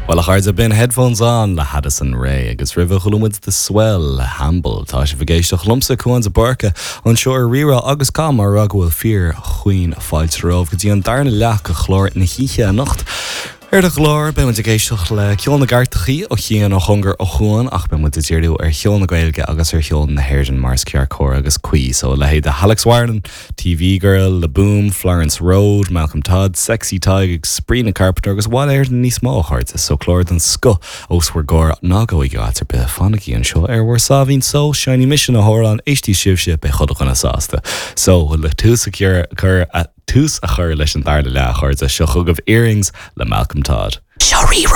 Bhuel, a chairde, b'in Headphones On le Addison Rae agus roimhe chuala muid The Swell le Hamble. Tá sibh ag éisteacht liomsa, Cúán de Búrca, anseo ar Rí-Rá agus caithfidh mé a rá go bhfuil fíor-chaoin fáilte romhaibh go dtí an darna leath de chlár na hoíche anocht. Ar an gclár, beidh muid ag éisteacht le ceol na gcairteachaí ó chian, ó chóngar, ó Chuan ach beidh muid ag díriú ar cheol na Gaeilge agus ar cheol na hÉireann mar is ceart cóir agus cuí. So a leithéid de Alex Warren, TV Girl, Le Boom, Florence Road, Malcolm Todd, Sexy Tadhg agus Sabrina Carpenter agus i bhfad Éireann níos mó, a chairde. So clár den scoth os bhur gcomhair, ná gabhaigí áit ar bith, fanaigí anseo ar bhur sáimhín só, seinnfidh mise na hamhráin, éistfidh sibhse, beidh chuile dhuine sásta. So, le tús a chur tús a chur leis an darna leath, a chairde, seo chugaibh Earrings le Malcolm Todd. Seo Rí-Rá.